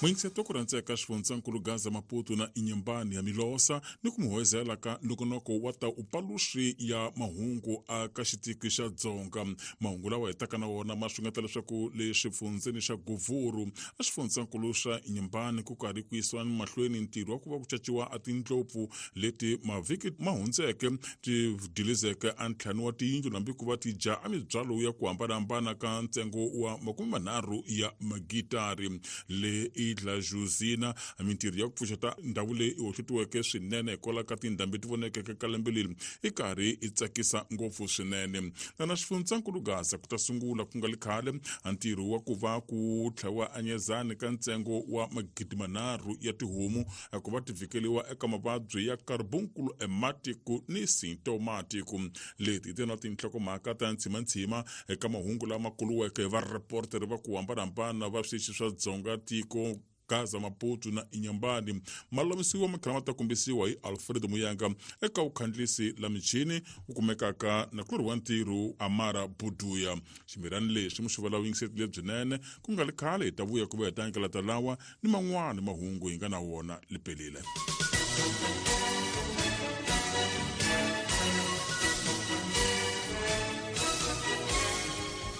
Muyingiseto ku rhandzeka xifundzankulu Gaza Maputo na Inhambane ya Milosa ni ku muhoyozela ka nongonoko wa ta upaluxi ya mahungu aka xitiki xa Dzonga. Mahungu lawa hi taka na wona ma xungeta leswaku le xifundzeni xa Govuru a xifundzankulu xa Inhambane ku karhi ku yisiwa mahlweni ntirho wa ku va ku caciwa a tindlopfu leti mavhiki ma hundzeke ti dilizeke a ntlhanu wa tiyindlu hambi ku va ti dya a mibyalo ya ku hambanahambana ka ntsengo wa 30 ya magitari. Le Idla Josina mintirho ya ku pfuxeta ndhawu leyi hohlotiweke swinene hikwalaho ka tindhambi ti vonekeke ka lembe leri i karhi i tsakisa ngopfu swinene. Na xifundzankulu Gaza ku ta sungula ku nga li khale ntirho wa ku va ku tlhaviwa anyezani ka ntsengo wa 3,000 ya tihomu ku va ti vhikeliwa eka mavabyi ya carbunkulu ematiku ni sintomatiku. Leti ti na tinhlokomhaka ta ntshimantshima eka mahungu lama kuluweke hi vareporter va ku hambanahambana va switichi swa Dzonga tiko Gaza Maputo na Inhambane. Ma lulamisiwa ma tlhela ma ta kombisiwa hi Alfredo Muyanga eka vukhandlisi la michini wu kumekaka na kulorhi wa ntirho Amara Buduya. Ximirani lexi muxivela vuyingiseti lebyinene ku nga li khale hi ta vuya ku va hi ta nyikela lawa ni man'wana mahungu hi nga na wona lipelile.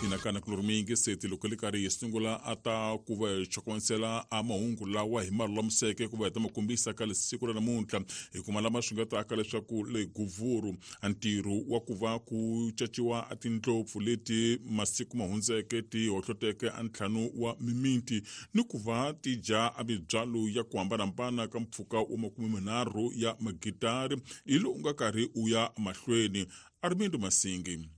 Inakana kulori muyingiseti loko li karhi hi sungula a ta ku va hi chokomisela a mahungu lawa hi ma lulamiseke ku va hi ta ma kombisa ka siku ra namuntlha hi kuma lama swi nga taka leswaku le Govuru ntirho wa ku va ku caciwa a tindlopfu leti masiku ma hundzeke ti hohloteke a ntlhanu wa mimiti ni ku va ti dya a mibyalo ya ku hambanahambana ka mpfhuka wa 30 ya magitari hi lowu nga karhi u ya mahlweni. Armindo Masingi.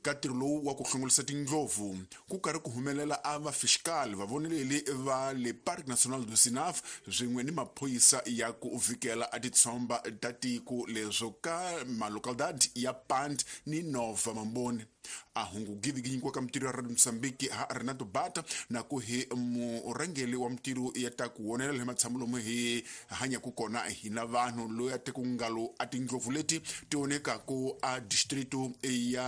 Ka ntirho lowu wa ku hlongolisa tindlopfu ku karhi ku humelela a va fiscal vavoneleli va le Parc National du Zinaf swin'we ni maphorisa ya ku vhikela a titshomba ta tiko leswo ka malocalidad ya Pant ni Nova Mamboni. A hungu givi nyikiwa ka mintirho ya Radio Mozambique ha Renato Bata na ku hi murhangeri wa mintirho ya ta ku wonela hi matshamo lomu hi hanyaka kona hina vanhu loyi a teku ngalo a tindlopfu leti ti onekaku a distrito ya